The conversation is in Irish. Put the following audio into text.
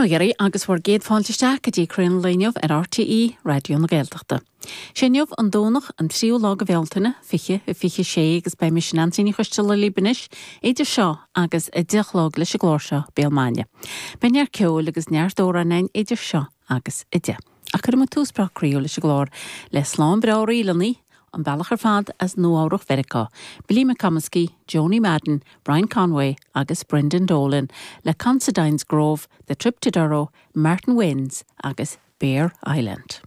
Bail ó Dhia oraibh agus bhur gcéad fáilte isteach go dtí Croí an Lae inniu ar RTÉ Raidió na Gaeltachta. Sé inniu an Domhnach an tríú lá de Bhealtaine, 2026 agus beidh mise Neansaí Ní Choisteala libh anois idir seo agus 10 a chlog leis an gclár seo Béal Maidine. Beidh neart ceoil agus neart amhráin againn idir seo agus 10. Ach cuirfidh muid tús breá croíúil leis an gclár le slán breá ríleanna, an bealach ar fad as Nua-Eabhrac Mheiriceá, Billy McComiskey, Joanie Madden, Brian Conway agus Brendan Dolan le Considine's Grove, The Trip to Durrow, Martin Wynne's agus Bere Island.